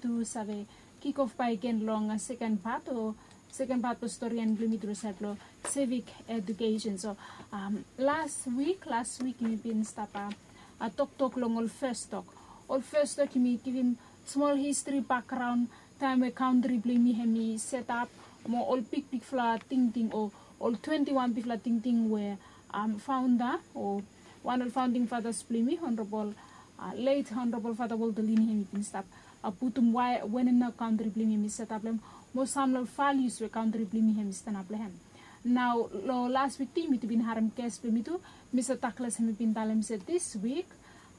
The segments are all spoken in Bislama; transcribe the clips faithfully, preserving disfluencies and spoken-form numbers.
tu save kikof bakegen long seken pat o seken pat blong storian blong yumi tu long saed blong civic education. So las wik, las wik yumi bin stap toktok long ol fes tok. Ol fes tok yumi givim smol histri bakgraon taem we kantri blong yumi hem i setap, mo ol bigbigfala tingting o ol twenti wan bigfala tingting we faonda o wan ol faonding fatas blong yumi, Honorabol, let Honorabol Fata Walter Lini hem i bin stap putum wae wanem nao kantri blong yumi hem i setap long hem, mo sam long ol valius we kantri blong yumi hem i stanap long hem. Nao long las wik tu yumi tu bin harem ges blong yumi tu, Mista Douglas hem i bin talem se dis wik,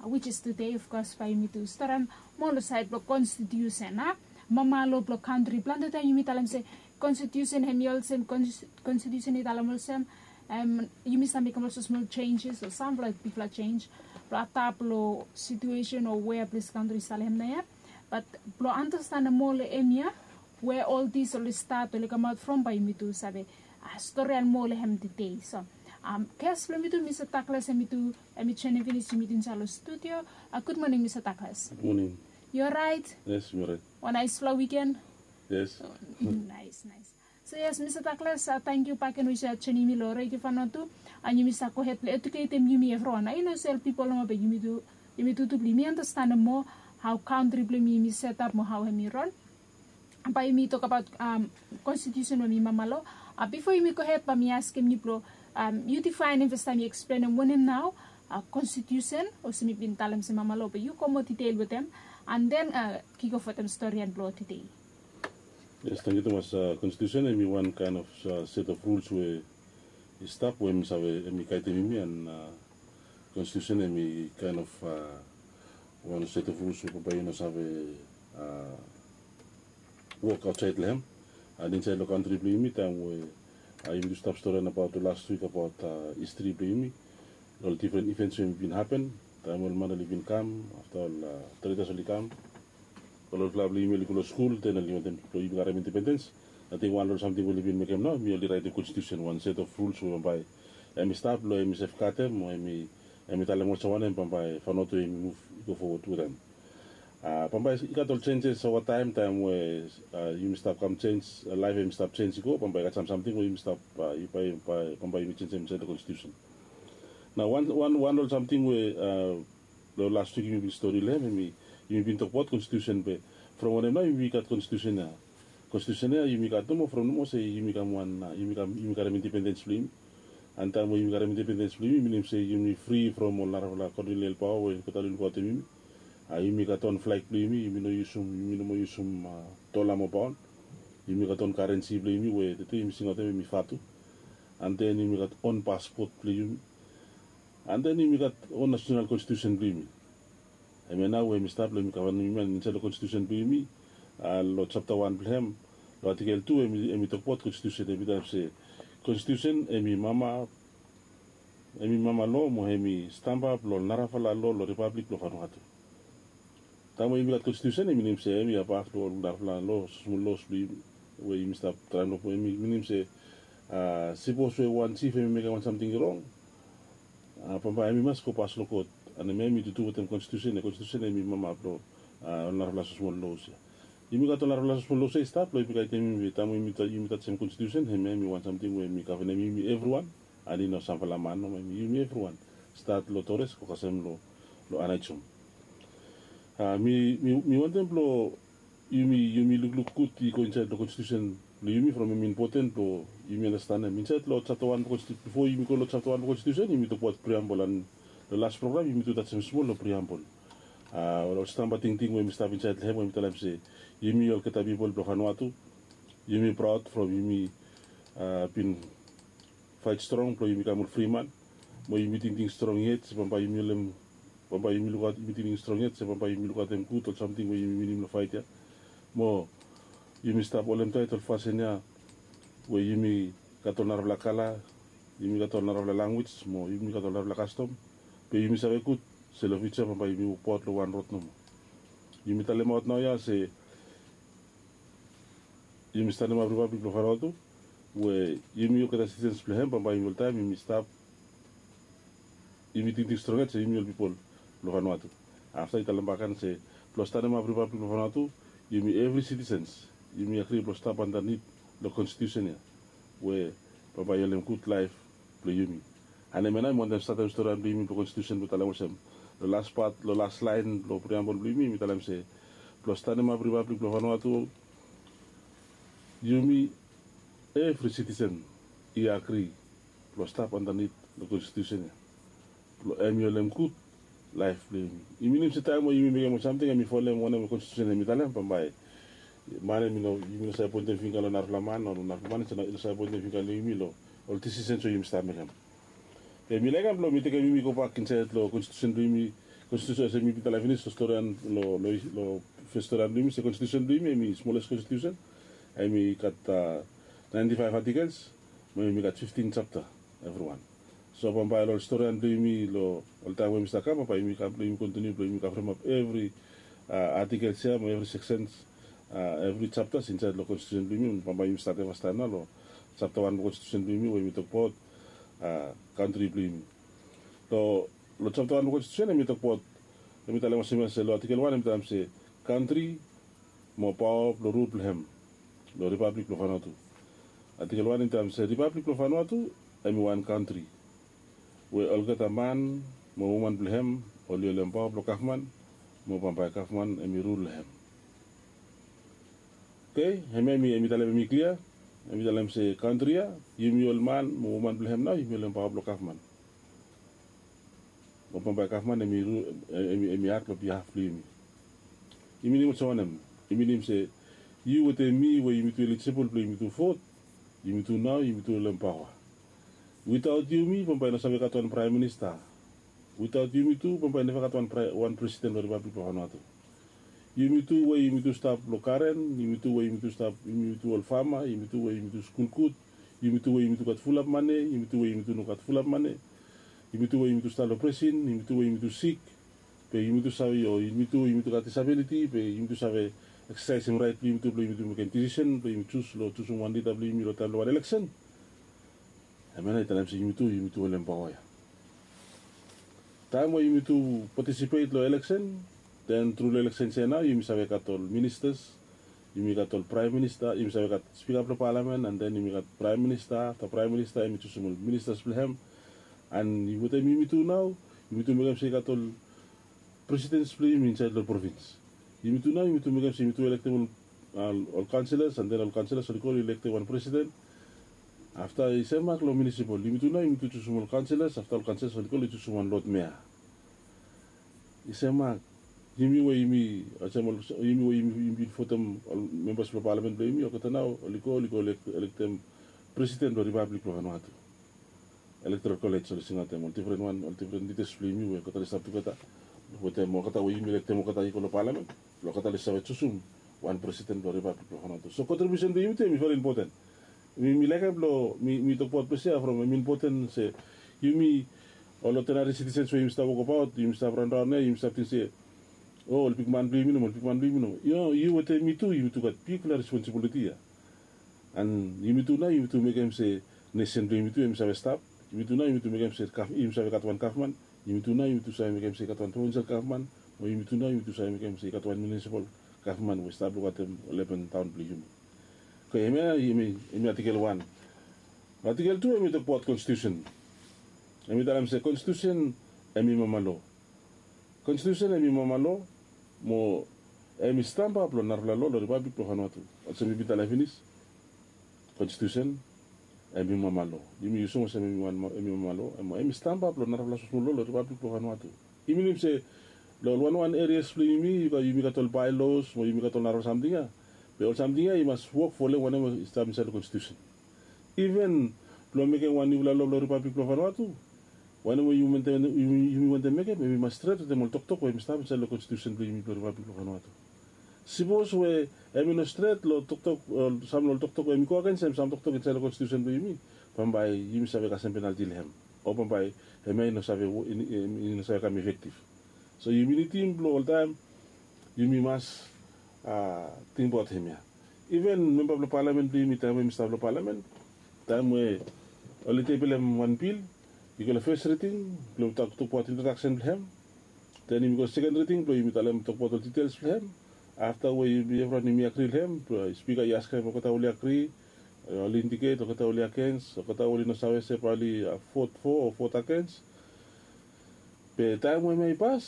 which is today of course, bae yumi tu storian moa long saed blong konstitiusen a, mama lo blong kantri. Plante taem yumi talem se konstitiusen hem i olsem, konstitiusen i talem olsem, yumi save mekem olsem smol jenjes o samfala bigfala jenj blong adap long situesen o wea ples kantri i stap long hem naoia. Bat blong andastanem moa long hemia we ol dis oli stat oli kamaot from, bae yumi tu save storian moa long hem tede. So ges blong yumi tu, Mista Douglas hem i tu, hem i joenem finis yumi tu insaed long studio. Gud moning Mista Douglas. Moning. Yu oraet? Yes, mi oraet. Wan naesfala wiken. Yes. Naes, naes. So yes, Mista Douglas, tangkiu bakegen we yu save joenem mi long redio Vanuatu. An yumi save gohed blong eduketem yumi evriwan. Ai no se ol pipol nomo be yumi tu, yumi tutu blong yumi andastanem moa hao kantri blong yumi hem i setap mo hao hem i ran. Bae yumi tokbaot konstitiusen we hem i mama lo. Bifo yumi gohed bae mi askem yu blong yu difaenem fastaem, yu eksplenem wanem nao konstitiusen, olsem mi bin talem se mama lo, be yu go moa ditel wetem an den kikof wetem storian blong tede. Yes, tangkiu tumas. Konstitiusen hem i wan kaen of set of ruls we i stap we hem i save, hem i gaedem yumi, an konstitiusen hem i kaen of wan set of ruls we bambae yu no save wok aotsaed long hem. An insaed long kantri blong yumi, taem we yumi tu stap storian abaot long las wik abaot histri blong yumi, ol difren ivens we hem i bin hapen taem ol man oli bin kam afta ol tretas oli kam. Ol olfala blong yumi oli go long skul, den oli wantem blong yumi karem independens. Ating wan long ol samting we oli bin mekem nao, yumi oli raetem konstitiusen, wan set of ruls we bambae hem i stap long hem i sefgadem o hem i, hem i talem olsem wanem bambae Vanuatu hem i muv i go fowod wetem. Bambae i gat ol jenjes ova taem, taem we yumi stap kam jenj, laef hem i stap jenj i go, bambae i gat sam samting we yumi stap, bambae yumi jenjem insaed long konstitiusen. Nao wan, wan, wan ol samting we long las wik yumi bin stori long hem, hem i, yumi bin tokbaot konstitiusen, be from wanem nao yumi gat konstitiusen ya? Konstitiusen ya yumi gat nomo from nomo se yumi kam wan, yumi kam, yumi karem independens blong yumi. An taem we yumi karem independens blong yumi, minim se yumi fri from ol narafala kolonial paoa we oli gat oli lukaotem yumi. Yumi gat on flag blong yumi, yumi no yusum, yumi no moa yusum dola mo paon. Yumi gat on karensi blong yumi we tede yumi singaotem hem i vatu. An den yumi gat on paspot blong yumi. An den yumi gat on nasenal konstitiusen blong yumi. Hemia nao we hem i stap long hem i gavenem yumi, an insaed long konstitiusen blong yumi, long japta wan blong hem, long atikel tu, hem i tokbaot konstitiusen, hem i talem se konstitiusen hem i mama, hem i mama lo mo hem i stamba blong narafala lo long ripablik blong Vanuatu. Taem we yumi gat konstitiusen, hem i minim se hem i abaf long ol narafala lo, smol los blong yumi we yumi stap traem long, hem i minim se sipos we wan jif hem i mekem wan samting i rong, bambae hem i mas go pas long kot. An hemia hem i tutu wetem konstitiusen ya. Konstitiusen hem i mama blong ol narafala smosmol los ya. Yumi gat ol narafala smosmol los ya i stap blong yumi gaedem yumi, taem we yumi tajem konstitiusen, hemia hem i wan samting we hem i gavenem yumi evriwan. An i no samfala man nomo, hem i yumi evriwan. Stat long Torres go kasem long, long Anaijom. Mi, mi, mi wantem blong yumi, yumi lukluk gud i go insaed long konstitiusen blong yumi from hem i impoten blong yumi andastanem. Insaed long japta wan blong konsti-, bifo yumi go long japta wan blong konstitiusen, yumi tokbaot priambol, an long las program yumi tu tajem smol long priambol. Ol stamba tingting we hem i stap insaed long hem we hem i talem se yumi olgeta pipol blong Vanuatu, yumi praod from yumi bin faet strong blong yumi kam ol fri man. Mo yumi tingting strong yet se bambae yumi holem, bambae yumi lukaot, yumi tingting strong yet se bambae yumi lukaotem gud ol samting we yumi winim long faet ya. Mo yumi stap holem taet ol fasin ya we yumi gat ol narafala kala, yumi gat ol narafala lanwis, mo yumi gat ol narafala kastom. Be yumi save gud se long fiuja bambae yumi wokbaot long wan rod nomo. Yumi talemaot naoia se yumi stanemap ripablik blong Vanuatu, we yumi olgeta sitizens blong hem, bambae yumi oltaem yumi stap, yumi tingting strong yet se yumi ol pipol blong Vanuatu. Afta i talem bak agen se blong stanemap ripablik blong Vanuatu, yumi evri sitisens yumi agri blong stap andanit long konstitusen ya, we bambae i holem gud laef blong yumi. An hemia nao mi wantem statem storian blong yumi blong konstitusen blong talem olsem, long las pat, long las laen blong priambol blong yumi mi talem se, blong stanemap ripablik blong Vanuatu, yumi evri sitisen i agri blong stap andanit long konstitusen ya, blong hemi holem gud laef blong yumi. I minim se taem we yumi mekem ol samting hemi folem wanem we konstitusen hemi talem, bambae man hemi no, yumi no save poentem fingga long narafala man o long narafala man i no save poentem fingga long yumi long ol disisens we yumi stap mekem. Be mi laekem blong mi tekem yumi gobak insaed long konstitusen blong yumi. Konstitusen olsem mi bin talem finis long storian, long fes storian blong yumi se konstitusen blong yumi hemi smoles konstitusen. Hemi gat naenti faef atikels, mo hemi gat fiftin japta evriwan. So bambae long ol storian blong yumi long ol taem we yumi stap kam, bambae yumi kam blong yumi kontiniu blong yumi kavremap evri atikels ya mo evri seksens, evri japtas insaed long konstitusen blong yumi. Bambae yumi statem fastaem nao long japta wan blong konstitusen blong yumi we yumi tokbaot kantri blong yumi. Long japta wan blong konstitusen hemi tokbaot, hemi talem olsem ya se long atikel wan hemi talem se, kantri mo paoa blong rul blong hem long ripablik blong Vanuatu. Atikel wan hemi talem se ripablik blong Vanuatu hemi wan kantri we olgeta man mo woman blong hem oli holem paoa blong gavman, mo bambae gavman hemi rul long hem. Oke, hemia hemi talem hemi klia. Hemi talem se kantri ya, yumi ol man mo woman blong hem nao yumi holem paoa blong gavman, mo bambae gavman hemi rul, hemi ak long bihaf blong yumi. I minim olsem wanem? I minim se yu wetem mi we yumitu elijibol blong yumitu vot, yumitu nao yumitu holem paoa. Witaot yumi bambae i no save gat wan praem minista. Witaot yumitu bambae i neva gat wan presiden long ripablik blong Vanuatu. Yumitu we yumitu stap long garen, yumitu we yumitu stap, yumitu ol fama, yumitu we yumitu skul gud, yumitu we yumitu gat fulap mane, yumitu we yumitu no gat fulap mane, yumitu we yumitu stap long presin, yumitu we yumitu sik, be yumitu save, o yumitu we yumitu gat disabiliti be yumitu save eksasaesem raet blong yumitu blong yumitu mekem disisen blong yumitu jus long jusum wan lida blong yumi long taem blong wan eleksen. Hemia nao i talem se yumitu, yumitu holem paoa ya. Taem we yumitu patisipet long eleksen, den tru long eleksen ya nao yumi save gat ol ministas, yumi gat ol praem minista, yumi save gat spika blong palamen, an den yumi gat praem minista. Afta praem minista hemi jusum ol ministas blong hem. An wetem yumitu nao yumitu mekem se i gat ol presidens blong yumi insaed long provins. Yumitu nao yumitu mekem se yumitu elektem ol kaonselas, an den ol kaonselas oli go oli elektem wan presiden. Afta i semak long munisipol, yumitu nao yumitu jusum ol kaonselas, afta ol kaonselas oli go oli jusum wan lod mea. I semak, yumi we yumi olsem ol, yumi we yumi bin votem ol membas blong palamen blong yumi, olgeta nao oli go oli go elektem presiden blong ripablik blong Vanuatu. Elektoral kolej oli singaotem ol difren wan, ol difren lidas blong yumi we olgeta oli stap tugeta wetem olgeta we yumi elektem olgeta i go long palamen, blong olgeta oli save jusum wan presiden blong ripablik blong Vanuatu. So kontribiusen blong yumitu hemi veri impoten. Mi laekem blong mi tokbaot ples ya from hemi impoten se yumi ol odinari sitisens we yumi stap wokbaot, yumi stap raonraon ya yumi stap ting se, o ol bigman blong yumi nomo, ol bigman blong yumi nomo. Yu wetem mi tu yumitu gat bigfala responsibiliti ya. An yumitu nao yumitu mekem se nesen blong yumitu hemi save stap. Yumitu nao yumitu mekem se yumi save gat wan gavman. Yumitu nao yumitu save mekem se i gat wan provinsel gavman, mo yumitu nao yumitu save mekem se i gat wan munisipol gavman we i stap lukaotem ol aben taon blong yumi. Oke, hemia hemi atikel wan. Atikel tu hemi tokbaot konstitusen. Hemi talem se konstitusen hemi mama lo. Konstitusen hemi mama lo, mo hemi stamba blong narafala lo long ripablik blong Vanuatu. Olsem mi bin talem finis, konstitusen hemi mama lo. Yumi yusum olsem hemi mama lo, mo hemi stamba blong narafala smosmol lo long ripablik blong Vanuatu. I minim se long ol wanwan erias blong yumi, yumi gat ol baelos mo yumi gat ol narafala samting ya. Be ol samting ya i mas wok folem wanem we i stap insaed long konstitusen. Iven blong mekem wan niufala lo blong ripablik blong Vanuatu, wanem we yumi wantem mekem hemi mas stret wetem ol toktok we hemi stap insaed long konstitusen blong yumi blong ripablik blong Vanuatu. Sipos we hemi no stret long toktok, sam long ol toktok we hemi go agens hem, sam toktok insaed long konstitusen blong yumi, bambae yumi save kasem penalti long hem, o bambae hemia i no save, i no save kam efektif. So yumi nidim blong oltaem yumi mas tingbaot hemia. Iven memba blong palamen blong yumi taem we yumi stap long palamen, taem we oli tebilem wan bil, i go long fes riding blong tokbaot introdaksen blong hem, den yumi go seken riding blong yumi talem tokbaot ol ditels blong hem. afta we yumi evriwan yumi agri long hem, spika i askem olgeta oli agri, oli indiket olgeta oli agens, olgeta oli no save se bae oli vot fo o vot agens. Be taem we hemia i pas,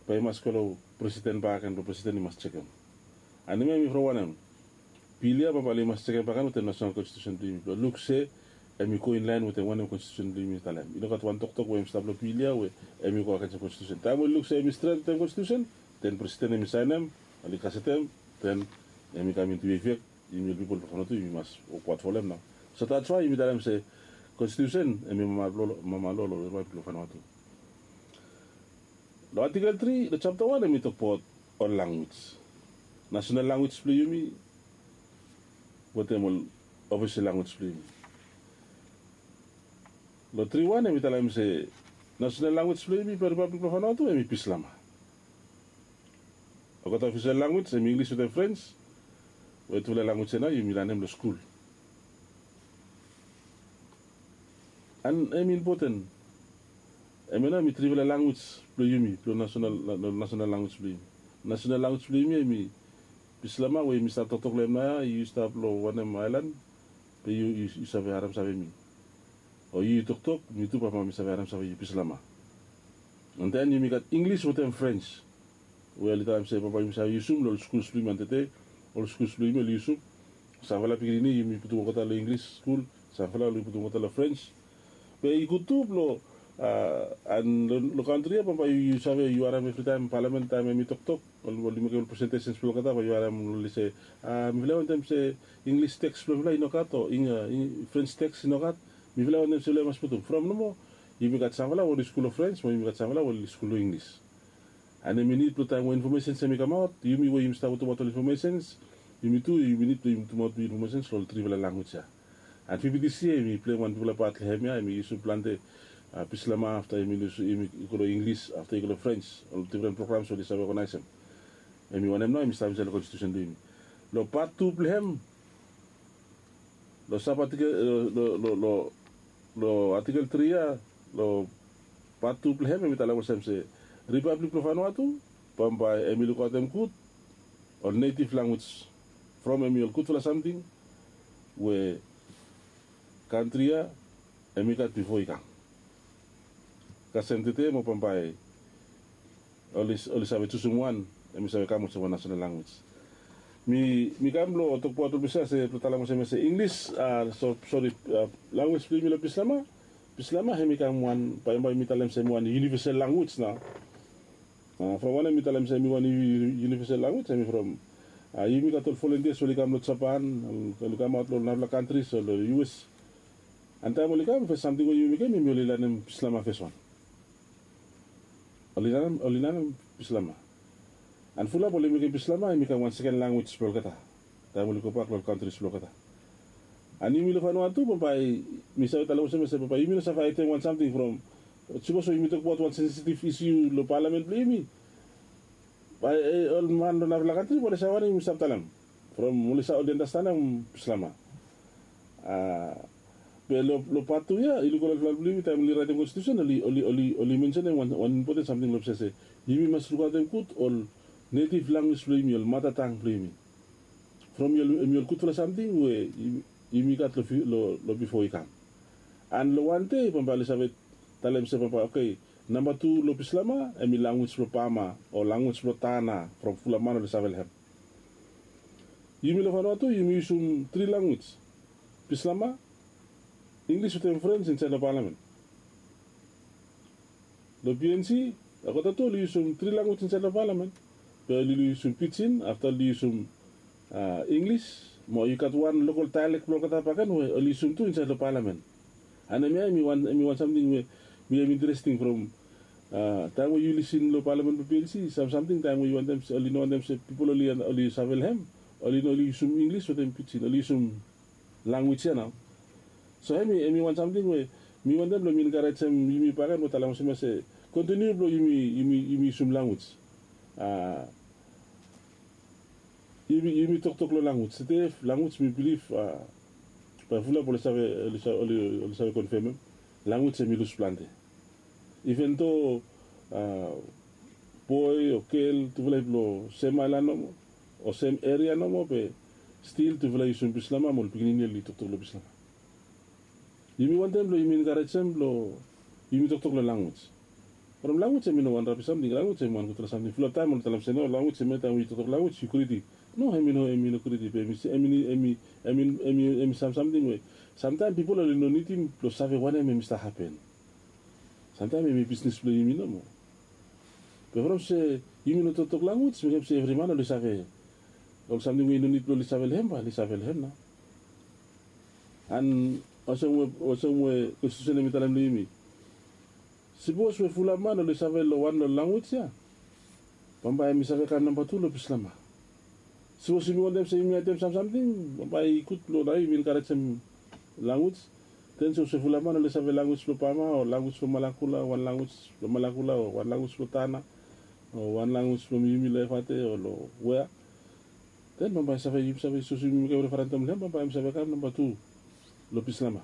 bae i mas go long presiden bakegen blong presiden i mas jekem. An hemia hemi from wanem? Bil ya bambae oli mas jekem bakegen wetem nasonal konstitusen blong yumi blong luk se hemi go inlaen wetem wanem konstitusen blong yumi i talem. I no gat wan toktok we hemi stap long bil ya we hemi go agensem konstitusen. Taem we oli luk se hemi stret wetem konstitusen, den presiden hemi saenem, oli gasetem, den hemi kam intu efek. Yumi ol pipol blong Vanuatu yumi mas wokbaot folem nao. So that's why yumi talem se konstitusen hemi mama loa, mama loa long ripablik blong Vanuatu. Long atikel tri long japta wan hemi tokbaot ol lanwis, nasonal lanwis blong yumi wetem ol ofisel lanwis blong yumi. Long tri wan hemi talem se nasonal lanwis blong yumi blong ripablik blong Vanuatu hemi Bislama. Olgeta ofisel lanwis hemi Inglis wetem Frens, we tufala lanwis ya nao yumi lanem long skul. An hemi impoten. Hemia nao hemi trifala lanwis blong yumi, blong nasonal, nasonal lanwis blong yumi. Nasonal lanwis blong yumi hemi Bislama we yumi stap toktok long hem nao ya, yu stap long wanem aelan, be yu, yu, yu save harem save mi. O yu, yu toktok, mi tu bambae mi save harem save yu, Bislama. An den yumi gat Inglis wetem Frens. We oli talem se bambae yumi save yusum long ol skuls blong yumi antede, ol skuls blong yumi oli yusum. Samfala pikinini yumi putum olgeta long Inglis skul, samfala oli putum olgeta long Frens. Be i gud tu blong, a, an long, long kantri ya bambae yu, yu save yu harem evritaem palamen taem hemi toktok, oli, oli mekem ol presentesens blong olgeta bae yu harem oli se, a, mifala i wantem se Inglis teks blong mifala i nogat o Ing, a, Ing, Frens teks i nogat. Mifala i wantem se oli mas putum. From nomo, yumi gat samfala we oli skul long Frens, mo yumi gat samfala we oli skul long Inglis. An hemi nid blong taem we infomesens hemi kamaot, yumi we yumi stap putumaot ol infomesens, yumi tu yumi nid blong yumi putumaot infomesens long ol trifala lanwis ya. An P P T C hemi pleim wan bigfala pat long hemia, hemi yusum plante, a, Bislama, afta hemi yusum, hemi i go long Inglis, afta i go long Frens, ol difren programs we oli save oganaesem. Hemi wanem nao hemi stap insaed long konstitusen blong yumi. Long pat tu blong hem, long sab atikel, long, long, long, long atikel tri ya, long pat tu blong hem, hemi talem olsem se, Ripablik blong Vanuatu bambae hemi lukaotem gud ol netiv lanwis, from hemi ol gudfala samting we kantri ya hemi gat bifo i kam. Kasem tede mo bambae oli, oli save jusum wan, hemi save kam olsem wan nasonal lanwis. Mi, mi kam blong tokbaot olbaot se, blong talem olsem se Inglis, a, so, sori, a, lanwis blong yumi long Bislama. Bislama hemi kam wan, bae, bae mi talem se hemi wan iunivesal lanwis nao. A, from wanem mi talem se hemi wan iu-, iunivesal lanwis, hemi from, a, yumi gat ol volontias we oli kam long Japan, oli kamaot long narafala kantris o long U S. An taem oli kam, fes samting we yumi mekem, yumi oli lanem Bislama fes wan. Oli lanem, oli lanem Bislama. An fulap oli mekem Bislama hemi kam wan seken lanwis blong olgeta taem oli gobak long ol kantris blong olgeta. An yumi long Vanuatu bambae mi save talem olsem se bambae yumi no save aetem wan samting from, sapos we yumi tokbaot wan sensitiv isiu long palamen blong yumi, bae, e, ol man long narafala kantri bae oli save wanem yumi stap talem. From oli save, oli andastanem Bislama. A, be long, long pat tu ya, i luk ol fulap blong yumi taem oli raetem konstitusen, oli, oli, oli, oli mensenem wan, wan impoten samting long olsem se yumi mas lukaotem gud ol netiv lanwis blong yumi, ol matatang blong yumi. From hemi ol, hemi ol gudfala samting we yumi, yumi gat long fi-, long, long bifo i kam. An long wan dei bambae oli save talem se bambae, oke, namba tu long Bislama hemi lanwis blong Pama o lanwis blong Tana, from fulap man oli save long hem. Yumi long Vanuatu yumi yusum tri lanwis, Bislama, Inglis wetem Frens insaed long palamen. Long P N C, olgeta tu oli yusum tri lanwis insaed long palamen. Be oli yusum Pijin, afta oli yusum, a, Inglis, mo i gat wan lokol daelek blong olgeta bakegen we oli yusum tu insaed long palamen. An hemia hemi wan, hemi wan samting we mi, hemi interesting from, a, taem we yu lisin long palamen blong P N C, sam, samting taem we yu wantem se, oli no wantem se pipol oli, oli save long hem, oli no, oli yusum Inglis wetem Pijin, oli yusum lanwis ya nao. So hemi, hemi wan samting we mi wantem blong mi enkarejem yumi bakegen blong talem olsem se kontiniu blong yumi, yumi, yumi yusum lanwis. A, yumi, yumi toktok long lanwis. Tede lanwis mi bilif, a, bae fulap oli save, oli sa-, oli, oli save konfemem. Lanwis hemi lus plante. Iven do, a, boe o gel tufala i blong sem aelan nomo o sem eria nomo be stil tufala i yusum bislama mo ol pikinini oli toktok long bislama. Yumi wantem blong yumi enkarejem blong yumi toktok long lanwis. From lanwis em i no wan rabis samting. Lanwis em i wan gutpela samting. Fulap taem ol talem se no, lanwis em ya taem yu toktok lanwis yu gridi. No, em i no em i no gridi be em i em i em i em i em i sam samting we samtaem pipol oli no nidim blong save wanem em i stap hapen. Samtaem em i bisnis blong yumi nomo. Be from se yumi no toktok lanwis mekem se evri man oli save ol samting we i no nid blong oli save long hem bae oli save long hem nao. An olsem we olsem we konstitusen em i talem long yumi, sipos we fulap man oli save long wan long lanwis ya, bambae em i save kam namba tu long bislama. Sipos yumi wantem se yumi atem sam samting bambae i gud blong nao yumi enkarejem lanwis. Den sipos we fulap man oli save lanwis blong bama o lanwis blong malakula o wan lanwis blong malakula o wan lanwis blong tana o wan lanwis blong yumi long efate o long wea, den bambae save yumi save sipos yumi mekem referendom long hem bambae em i save kam namba tu long bislama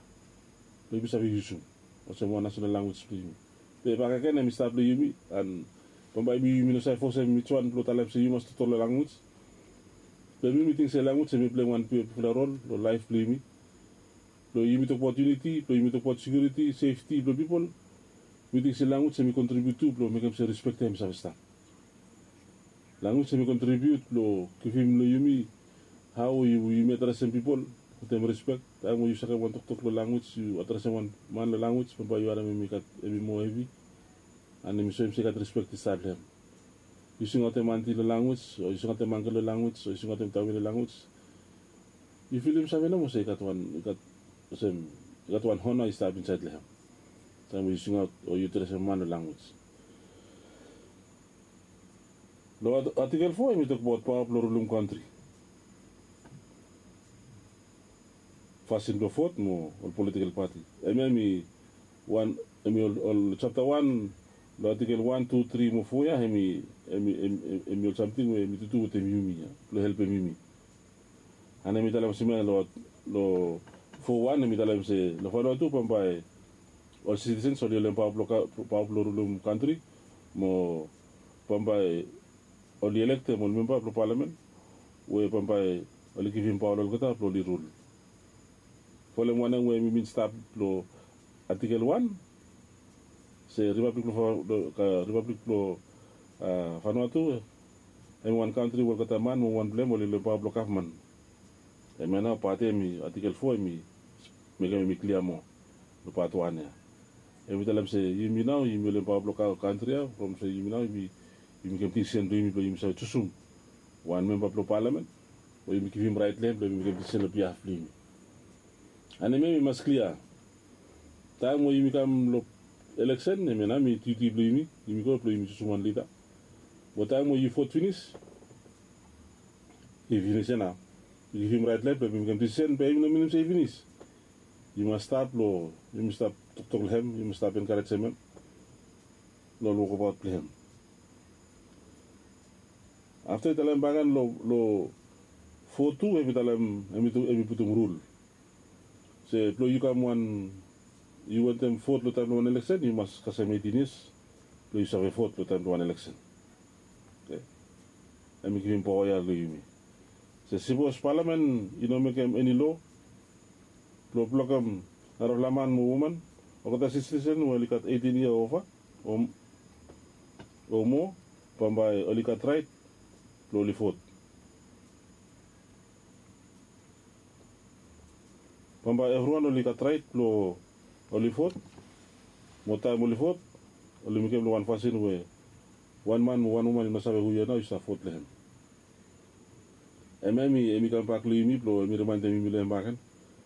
blong yumi save yusum olsem wan nasonal lanwis blong yumi. Be bakegen em i stap long yumi an bambae yumi yumi no save fosem its wan blong talem se yu mas toktok long lanwis. Be mi mi ting se lanwis em i pleim wan bigfala rol long laef blong yumi. Blong yumi tokbaot yuniti blong yumi tokbaot sekiuriti sefti blong pipol, mi ting se lanwis em i kontribiut tu blong mekem se rispek ya em i save stap. Lanwis em i kontribiut blong givim long yumi hao yumi adresem pipol wetem rispek. Taem we yu sakem wan toktok long lanwis yu adresem wan man long lanwis bambae yu harem em i gat em i moa hevi. An em i soem se i gat rispek i stap long hem. Yu singaotem anti long lanwis o yu singaotem angkel long lanwis o yu singaotem tame long lanwis, yu filim save nomo se i gat wan i gat olsem i gat wan hona i stap insaed long hem. Taem we yu singaot o yu adresem man long lanwis. Long atikel fo em i tokbaot paoa blong rulum kantri, fasin blong vot mo ol politikel pati. Hemia em i wan em i ol japta wan long atikel wan tu tri mo fo ya em i em i em i ol samting we em i tutu wetem yumi ya blong helpem yumi. An em i talem olsem ya long fo wan em i talem se long fanua tu bambae ol sitisens oli holem paoa blong rulum kantri mo bambae oli elektem ol memba blong palamen we bambae oli givim paoa long olgeta blong oli rul. Folem wanem we mi bin stap long atikel wan se ripablik blong fanua tu em i wan kantri we olgeta man mo wan blong hem oli holem paoa blong gavman. Hemia nao pat ya em i atikel fo em i mekem em i klia moa long pat wan ya. Em i talem se yumi nao yumi holem paoa blong kantri ya from se yumi nao yumi mekem disisen blong yumi blong yumi save jusum wan memba blong palamen we yumi givim raet long hem blong yumi mekem disisen long biaf blong yumi. Anemia mi mas klia. Taem we yumi kam long eleksen hemia nao mi tiuti blong yumi yumi go blong yumi jusum wan lida. Mo taem we yu vot finis i finis ya nao. Yu givim raet long hem blong yumi mekem disisen be yumi no minim se i finis. Yu mas stap long yumi stap toktok long hem yumi stap enkarejem hem long ol wokabaot blong hem. Afta i talem bagen long fo tu em i talem em i putum rul se blong yu kam wan yu wantem vot long taem blong wan eleksen yu mas kasem eitin yias blong yu save vot long taem blong wan eleksen. Em i givim paoa ya long yumi se sipos palamen i no mekem eni loa blong blokem narafala man mo woman olgeta sitisen we oli gat eitin yia ova o moa bambae oli gat raet blong oli vot. Bambae evriwan oli gat raet blong oli vot mo taem oli vot oli mekem long wan fasin we wan man mo wan woman i no save hu ya nao i stap vot long hem. Em ya em i kambak long yumi blong em i rimaendem yumi long em baken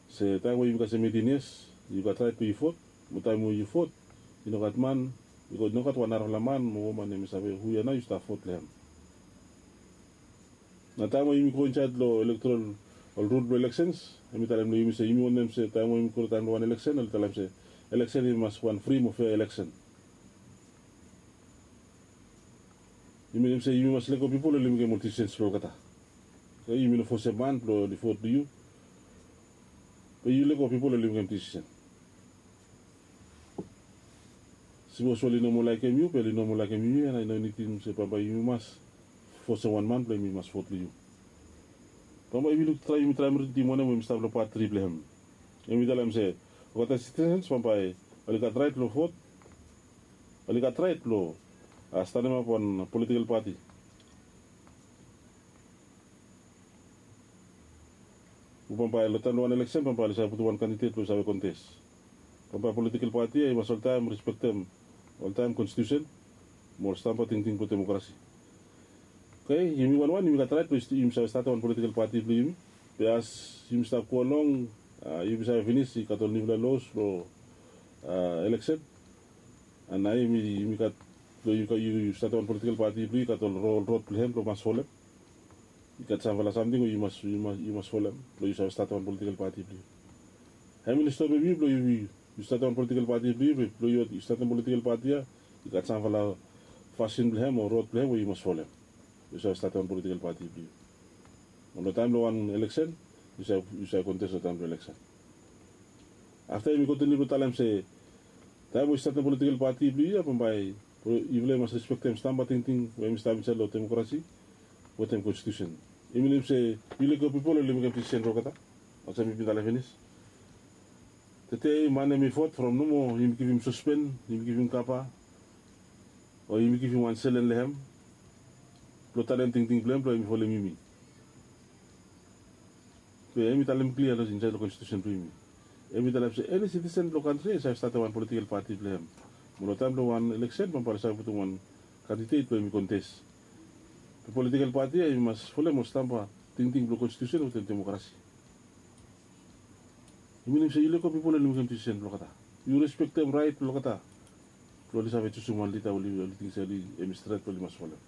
se taem we yumi kasem eitin yias yu gat raet blong yu vot mo taem we yu vot i no gat man i no gat wan narafala man mo woman em i save hu ya nao yu stap vot long hem. Na taem we yumi go insaed long elektorol ol rul blong eleksens em i talem long yumi se yumi wantem se taem we yumi go long taem blong wan eleksen oli talem se eleksen i mas wan fri mo fea eleksen. Yumi nem se yumi mas lego pipol oli mekem ol disisens blong olgeta. Yumi no fosem man blong oli vot long yu. Be yu lego pipol oli mekem disisen. Sipos oli no moa laikim yu be oli no moa laikim yumi, a i no nidim se bambae yumi mas fosem wan man blong yumi mas vot long yu. Bambae yumi luk traem yumi traem ridim wanem we mi stap long pat tri blong hem. Yumi talem se olgeta sitisens bambae oli gat raet long vot, oli gat raet long stanemap wan politikel pati. Bambae long taem long wan eleksen bambae oli save putum wan kandidet blong i save kontes. Bambae politikel pati ya i mas oltaem respektem oltaem konstitusen mo ol stamba tingting blong demokrasi. Oke, yumi wanwan yumi gat raet blong yumi save statem wan politikel pati blong yumi. Be as yumi stap go long, yumi save finis i gat ol niufala los blong eleksen. An nao yumi gat blong yu statem wan politikel pati blong yu i gat ol rod blong hem blong mas folem. I gat samfala samting we yu mas folem blong yu save statem wan politikel pati blong yu. Hem oli stopem yu blong yu statem wan politikel pati blong yu be blong yu statem politikel pati ya i gat samfala fasin blong hem o rod blong hem we yu mas folem blong yu save statem wan politikel pati blong yu. Mo long taem blong wan eleksen yu save kontes long taem blong eleksen. Afta yumi kontiniu blong talem se taem we yu statem politikel pati blong yu ya bambae yufala i mas respektem stamba tingting we hem i stap insaed long demokrasi wetem konstitusen. I minim se yu lego pipol oli mekem disisen blong olgeta. Olsem mi bin talem finis. Tede man hem i vot from nomo yumi givim sospen, yumi givim kapa, o yumi givim wan selen long hem blong talem tingting blong hem blong hem i folem yumi. Be hem i talem klia long insaed long konstitusen blong yumi. Hem i talem se eni sitisen blong kantri ya i save statem wan politikel pati blong hem. Mo long taem blong wan eleksen bambae oli save putum wan kandidet blong hem i kontes. Be politikel pati ya i mas folem ol stamba tingting blong konstitusen wetem demokrasi. I minim se yu lego pipol oli mekem disisen blong olgeta. Yu respektem raet blong olgeta blong oli save jusum wan lida we oli ting se hem i stret blong oli mas folem.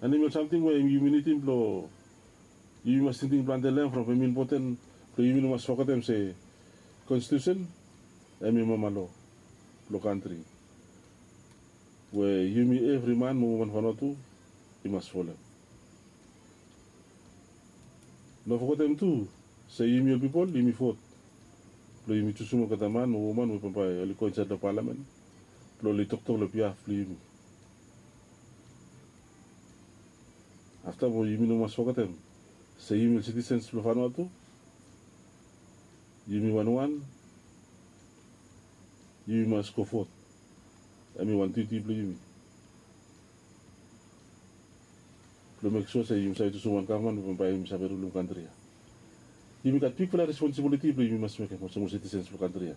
An hem i ol samting we yumi nidim blong yumi mas tingting plante long hem from hem i impoten blong yumi no mas fogetem se konstitusen hem i mama loa blong kantri we yumi evri man mo woman Vanuatu i mas folem. No fogetem tu se yumi ol pipol yumi vot blong yumi jusum olgeta man mo woman we bambae oli go insaed long palamen blong oli toktok long bihaf blong yumi. Afta mo yumi no mas fogetem se yumi ol sitisens blong Vanuatu yumi wanwan yumi mas go vot. Hem i wan diuti blong yumi blong mek sua se yumi save jusum wan gavman we bambae yumi save rulum kantri ya. Yumi gat bigfala responsibiliti blong yumi mas mekem olsem ol sitisens blong kantri ya.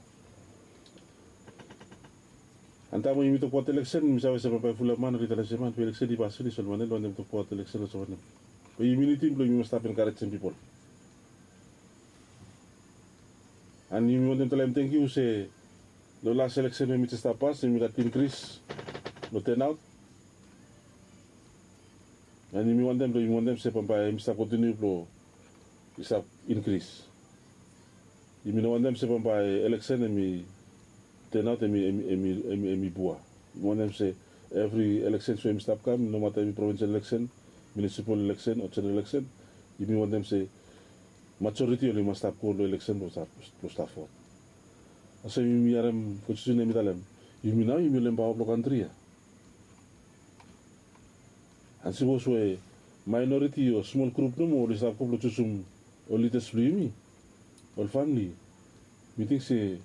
An taem we yumi tokbaot eleksen mi save se bambae fulap man oli talem se man be eleksen i pas finis ol man ya oli wantem tokbaot eleksen olsem wanem? Be yumi nidim blong yumi mas stap enkarejem pipol. An yumi wantem talem tangkiu se long las eleksen we mi jes stap pas yumi gat inkris long tenaot. An yumi wantem blong yumi wantem se bambae hem i stap kontiniu blong i stap inkris. Yumi no wantem se bambae eleksen hem i tenaot hem i pua. Yumi wantem se evri eleksen we hem i stap kam nomata hem i provinsel eleksen, munisipal eleksen o jeneral eleksen, yumi wantem se majoriti oli mas stap go long eleksen blong stap vot. Olsem yumi harem konstitusen hem i talem yumi nao yumi ol empaoa blong kantri ya. An sipos we maenoriti o smol grup nomo oli stap go blong jusum ol lidas blong yumi, ol famle, mi ting se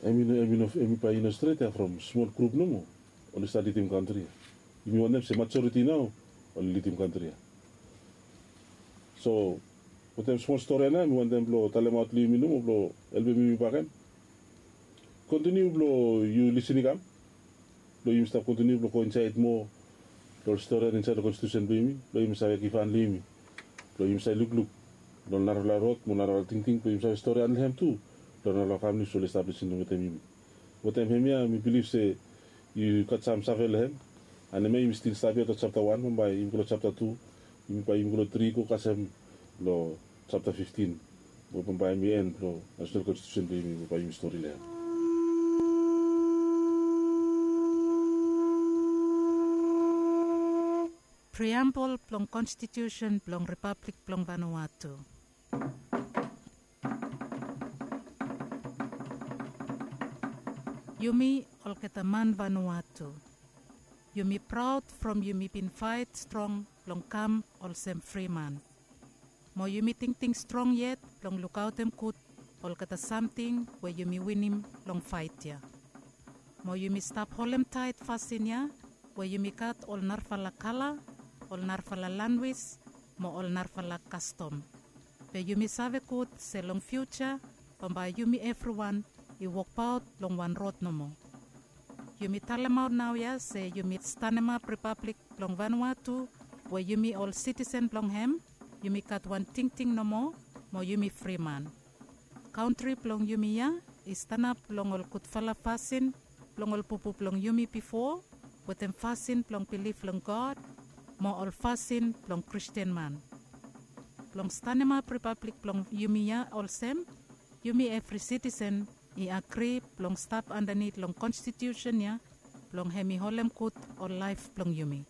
hem i no hem i no hem i bae i no stret ya from smol grup nomo oli stap lidim kantri ya. Yumi wantem se majoriti nao oli lidim kantri ya. So wetem smol stori ya nao mi wantem blong talemaot long yumi nomo blong helpem yumi bakegen. Kontiniu blong yu lisin i kam blong yumi stap kontiniu blong go insaed moa long ol stori ya insaed long konstitusen blong yumi blong yumi save givhan long yumi blong yumi save lukluk long narafala rod mo narafala tingting blong yumi save stori han long hem tu long narafala famili we oli stap lisin wetem yumi. Wetem hemia mi bilif se yu gat sam save long hem. An hemia yumi stil stap ya long japta wan bambae yumi go long japta tu, yumi bae yumi go long tri go kasem long japta fiftin we bambae hemi en blong nasenal konstitusen blong yumi we bae yumi stori long hem. Priambol blong konstitusen blong ripablik blong Vanuatu. Yumi olgeta man Vanuatu, yumi praod from yumi bin faet strong blong kam olsem fri man. Mo yumi tingting strong yet blong lukaotem gud olgeta samting we yumi winim long faet ya. Mo yumi stap holemtaet fasin ya we yumi gat ol narafala kala, ol narafala lanwis, mo ol narafala kastom. Be yumi save gud se long fiuja bambae yumi evriwan i wokbaot long wan rod nomo. Yumi talemaot naoia se yumi stanemap ripablik blong Vanuatu we yumi ol sitisen blong hem, yumi gat wan tingting nomo, mo yumi fri man. Kantri blong yumi ya i stanap long ol gudfala fasin blong ol bubu blong yumi bifo, wetem fasin blong bilif long God, mo ol fasin blong Kristin man. Blong stanemap ripablik blong yumi ya olsem, yumi evri sitisen i agri blong stap andanit long konstitiusen ya blong hem i holem gud ol laef blong yumi.